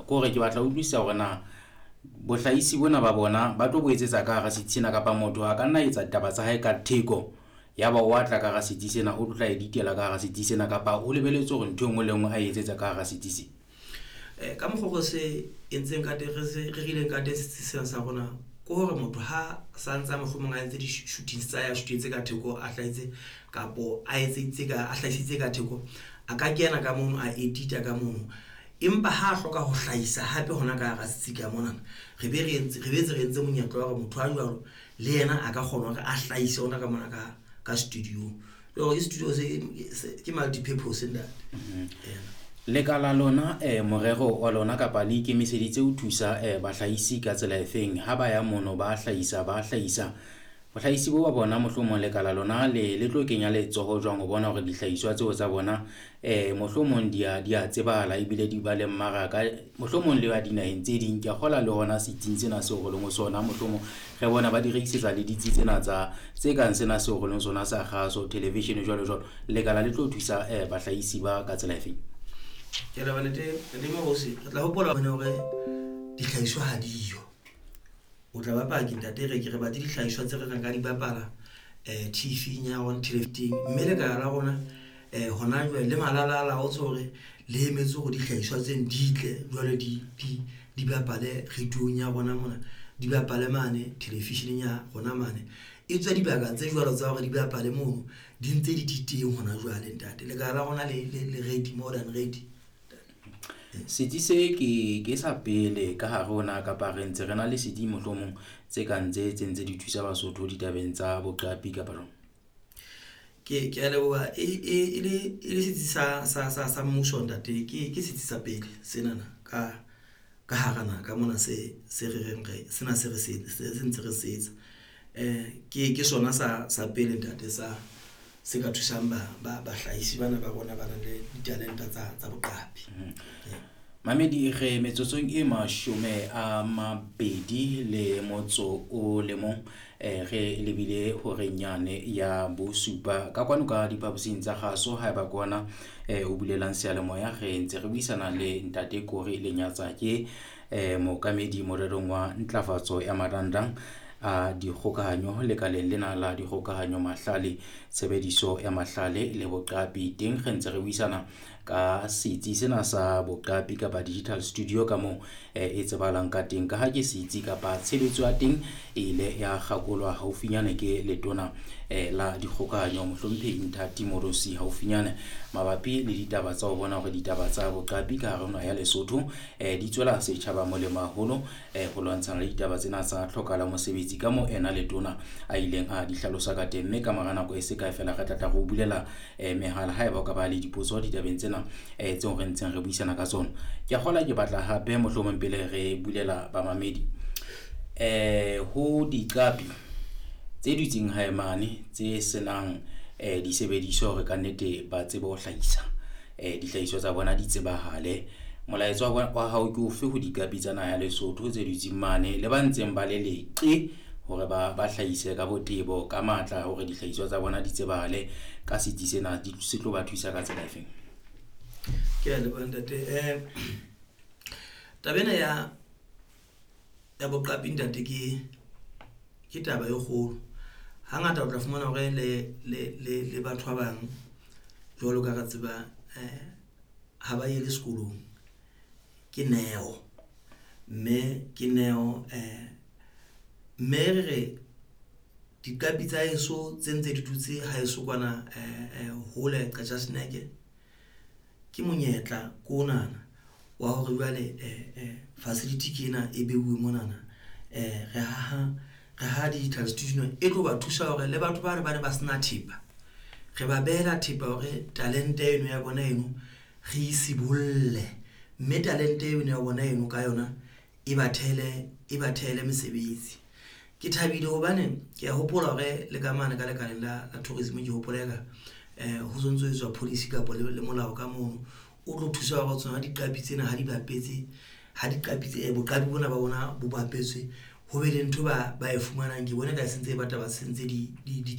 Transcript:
Ke hore ke batla ho utlwisisa hore na bohlahisi bona ba bona ba tlo bo etsetsa ka hara setsi sena, kapa motho a ka nna etsa ditaba tsa hae ka theko yaba wa tla ka hara setsi sena, o tlo tla editela ka hara setsi sena, kapa o lebelletse hore ntho e nngwe le e nngwe a etsetsa ka hara setsi se? Ka mokgwa o re se entseng ka teng, re se rerileng ka teng setsi sena sa rona ke hore motho ha santsa mohlomong a entse di-shootings tsa hae, a shoot-etse ka theko, a hlahetse kapo a etseditse ka a hlahisitse ka theko, a ka kena ka mono, a edit-a ka mono. Empa ha a hloka ho hlahisa hape hona ka hara setsi ka mona, re be re entse re boetse re entse monyetla wa hore motho a jwalo le yena a ka kgona hore a hlahise hona ka mona ka studio. Jwale ke studio se ke multi purpose ntate. Lekala lona morero wa lona kapa le ikemiseditse ho thusa bahlahisi ka tsela efeng ha ba ya mono ba hlahisa ba hlahisa bohlahisi bo ba bona? Mohlomong lekala lona le tlo kenya letsoho jwang ho bona hore dihlahiswa tseo tsa bona mohlomong di a tsebahala ebile di ba le mmaraka, mohlomong le ba dinaheng tse ding? Ke a kgola le hona setsing sena seo re leng ho sona, mohlomong re bona ba di rekisetsa le ditsi tsena tsa tse kang sena seo re leng sona sa kgaso television jwalo jwalo. Lekala le tlo thusa bahlahisi ba ka tsela efeng? Ke leboha ntate, ntate Morusi. Re tla hopola hore dihlahiswa ha diyo. O tla ba paki ntate, re ke re batle dihlahiswa tse re reng ka di bapala TV-ing ya rona teng, mme lekala la rona hona jwale le malala a laotse hore le emetse hore dihlahiswa tseno di tle jwale di bapale radio-ng ya rona mona, di bapale mane television-eng ya rona mane. E tswe dibaka tse jwalo tsa hore di bapale mono di ntse di teng hona jwale ntate. Lekala la rona le ready, more than ready. Setsi se ke sa pele ka hare ho na, kapa re ntse re na le setsi mohlomong tse kang tse ntse di thusa Basotho ditabeng tsa boqapi kapa jwang? Ke a leboha. E le setsi sa mmuso ntate, ke setsi sa pele senana ka hara naha ka mona se re reng re sena se re se ntse re se etsa. Ke sona sa pele ntate sa se ka thusang ba bahlahisi bana ba rona ba nang le ditalente tsa boqapi. Mamedi, re metsotsong e 21, re lebile horeng yane ya bosupa ka kwano ka diphaposing tsa kgaso. Haeba ke ona o bulelang seyalemoya, re ntse re buisana le ntate Kori Lenyatsa, ke mookamedi morerong wa ntlafatso ya marangrang a dikgokahanyo lekaleng lena la dikgokahanyo, mahlale, tshebediso ya mahlale le boqapi. Teng re ntse re buisana ka setsi sena sa boqapi kapa digital studio ka moo e tsebahalang ka teng, ka ha ke setsi kapa tshebetso ya teng e ile ya kgakolwa haufinyane ke letona la dikgokahanyo, mohlomphehi Nthati Moorosi, haufinyane mabapi le ditaba tsa ho bona hore ditaba tsa boqapi ka hare ho naha ya Lesotho di tswela setjhaba molemo haholo, ho lwantshana le ditaba tsena tsa tlhokala mosebetsi ka moo ena letona a ileng a di hlalosa ka teng. Mme ka mora nako e se kae fela re tla tla re o bulela mehala haeba o ka ba le dipotso ditabeng tsena tseo re ntseng re buisana ka tsona. Ke a kgola ke batla hape mohlomong pele re bulela bamamedi ho diqapi tse dutseng hae mane tse senang disebediswa hore kannete ba tsebe ho hlahisa dihlahiswa tsa bona di tsebahale, molaetsa wa hao ke ofe ho diqapi tsa naha ya Lesotho tse dutseng mane le ba ntseng ba le leqe hore ba hlahise ka botebo ka matla hore dihlahiswa tsa bona di tsebahale ka setsi sena se tlo ba thusa ka tsela efeng? Ke a leboha ntate. Taba ena ya boqapi ntate ke taba e kgolo. Hangata o tla fumana hore le batho ba bang jwalo ka re tseba ha ba ye le sekolong, ke neo, mme ke neo mme re diqapi tsa heso tse ntse di dutse haeso kwana hole Qacha's Nek, ke monyetla ko onana wa hore jwale facility ke ena e beuwe monana. Re haha digital studio e tlo ba thusa hore le batho ba ne ba sena thepa, re ba behela thepa hore talente eno ya bona eno re e sibolle, mme talente eno ya bona eno ka yona e ba thehele mesebetsi. Ke thabile hobane ke a hopola hore le ka mane ka lekaleng la tourism, ke hopola eka ho sontso ho etswa policy kapa le molao ka mono o tlo thusa hore tsona diqapi tsena ha di bapetse, ha diqapi tse boqapi bona ba bona bo bapetswe, ho be le ntho ba e fumanang. Ke bona ka se ntse e batla ba sentse di.